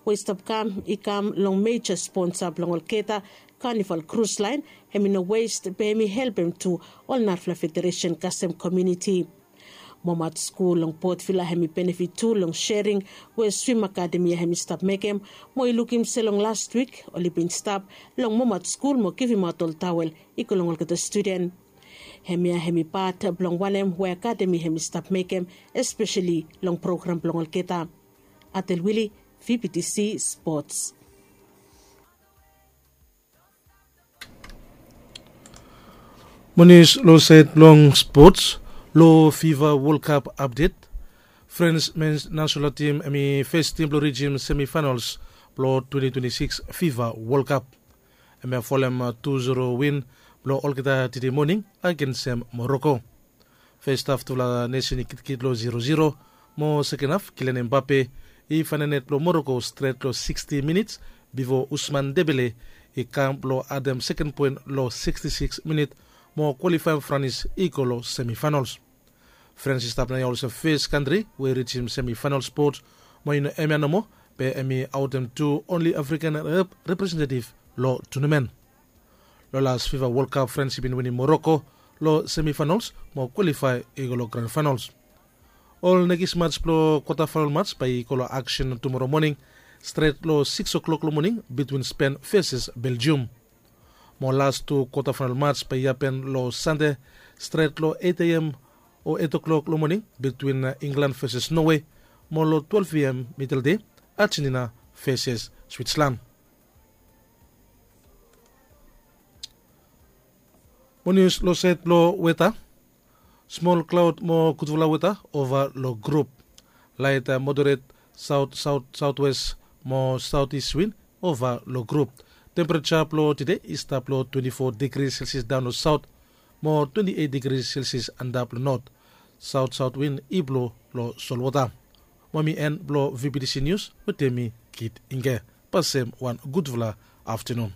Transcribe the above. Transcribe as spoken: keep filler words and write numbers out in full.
we i stap kam i kam long meja sponsa blong olgeta. Kanival krus laen hem i no west be hem i helpem tu ol narafala federesen kasem komiuniti. Momat skul long potvila hem i benefit tu long sering we swim akademi ya hem i stap mekem, mo i lukim se long last wik oli bin stap long momat skul mo givimaot ol tawel i go long olgeta studen. Hemia hem i pat blong wanem we akademi hem i stap mekem, espeseli long program blong olgeta. Atel wili, vptc spots. Monis long saed blong spots. Long fifa wolkap apdet, frans mens nasional tim hem i fes tim blong rijim semifainals blong twenti twenti sikis fifa wolkap. Hem i folem tu zero win blong olgeta tide moning agensem moroko. Fes haf tufala nesen i kitkit long zero zero, mo seken haf kilian embape i faenem net blong moroko stret long siksti minits, bifo usman debele i kam blong adem seken poen long siksti sikis minit, mo kwalifaem franis i go long semifainals. Frans i stap naoia olsem fes kantri we i rijim semifainal spot, mo i no hemia nomo, be hem i aotem tu onli afrikan representetif long tunamen. Long las fifa wolkap frans i bin winim moroko long semifainals, mo kwalifae i go long gran fainals. Ol nekis mats blong kwatafainal mats bae i go long aksen tumoro moning, stret long sikis oklok long moning bitwin spen veses beljium. Mo las tu kwatafainal mats bae i hapen long sande, stret long eit a m o eit oklok long moning bitwin inglan veses nowe, mo long twelef a m mideldei, ajenina veses switslan. Mo nius long saed blong weta. Smol klaod mo gudfala weta ova long grup. Laet moderet, saot saot saotwes mo saotis win ova long grup. Tempereja blong tide i stap long twenti fo digri selsias daon long saot, mo twenti eit digri selsias antap long not. Saot saot win i blo long solwota. Mo mi en blong vptc nius wetem mi, kit inge. Pasem wan gudfala aftenun.